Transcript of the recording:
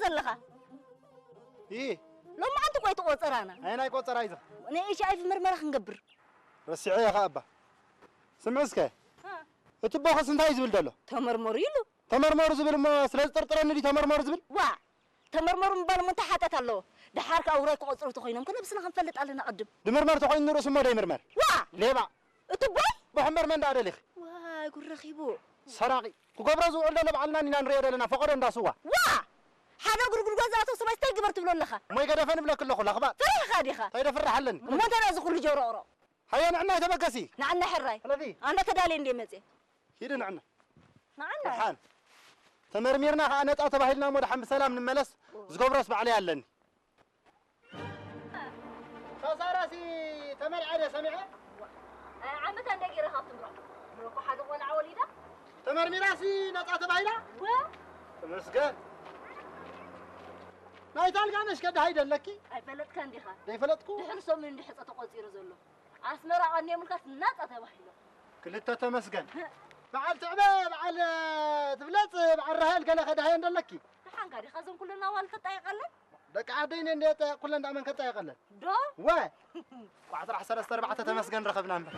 ኣለኻ? ሎማዓንቲ እኮ እዩ እቲ ቆጸራና። ኣየናይ ቆጸራ እዩ እዚ? ናይ ኤች ኣይ ቪ ምርመራ ክንገብር። ረሲዐ እየ ኸኣ እባ። ስምዒ እስከ፣ እቲ ቦኸስ እንታይ እዩ ዝብል ዘሎ? ተመርመሩ ኢሉ። ተመርመሩ ዝብል እሞ ስለ ዝጥርጥረኒ ድዩ ተመርመሩ ዝብል? ዋ! ተመርመሩ ምባል እሞ እንታይ ሓጢኣት ኣለዎ? ደሓር ከኣ ውራይ ክቖጽሩ ተኾይኖም ከ ነብስና ክንፈልጥ ኣለና ቅድም። ድምርመር ተኾይኑ ንርእሱ እሞ ደይምርመር። ዋ! ሌባ! እቲ ቦይ? ቦ ሕምበር መን ደኣ ደሊኺ? ዋይ፣ ጉድ ረኺቡ። ሰራቒ። ክገብሮ ዝውዕል ዘሎ ባዕልና ኢና ንሪኦ ዘለና፣ ፈቐዶ እንዳ ስዋ። ዋ! ሓደ እግሩ ጉድጓድ ዝኣተወ ሰብኣይ እንታይ ግበር ትብሎ ኣለኻ? እሞ ይገደፈ ንብለኪ ኣለኹ፣ ለኽባጥ። ፈሪሕኻ ዲኻ? እንታይ ደፍርሕ ኣለኒ? እሞ እንታይ እዚ ኩሉ ጆሮቕሮቕ? ሃየ ንዕናይ ተበገሲ። ንዓና ሕራይ። ሕለፊ። ኣነ ተዳልየ እንድየ መጽየ። ሂዲ ንዕና። ንዓና? ደሓን። ተመርሚርና ከኣ ነጻ ተባሂልና እሞ ደሓን ብሰላም ንመለስ። ዝገብሮስ ባዕለይ ኣለኒ። ከሳራሲ ተመርዓ ደ ሰሚዐ? ዓመታ እንደ ገይረ ካብ ትምሮ። ምሮ እኮ ሓደ ቆልዓ ወሊዳ። ተመርሚራሲ ነጻ ተባሂላ? ወ? ተመስገን። ናይ ታልጋነሽ ከ ደሃይ ደለኪ? ኣይፈለጥካን ዲኻ? ደይፈለጥኩ? ድሕሪ ሰሙን እንዲ ሕጸ ተቆጺሩ ዘሎ። ኣስመራ ቀንዮምልካስ ናጻ ተባሂሎም። ክልተ ተመስገን። በዓል ትዕበ፣ በዓል ትብለጽ፣ በዓል ራሄል ገለ ከደሃየ እንደለኪ። ደሓንካ ዲኻ እዞም ኩለን ኣዋልድ ተጣይቐለን? ደቂ ዓደይ እኔ እንደ ጠየቕ ኩለን ደኣ መን ከጣየቐለን? ዶ? ወ! ቋዕ ጥራሕ ሰለስተ ኣርባዕተ ተመስገን ረኸብና እምበር።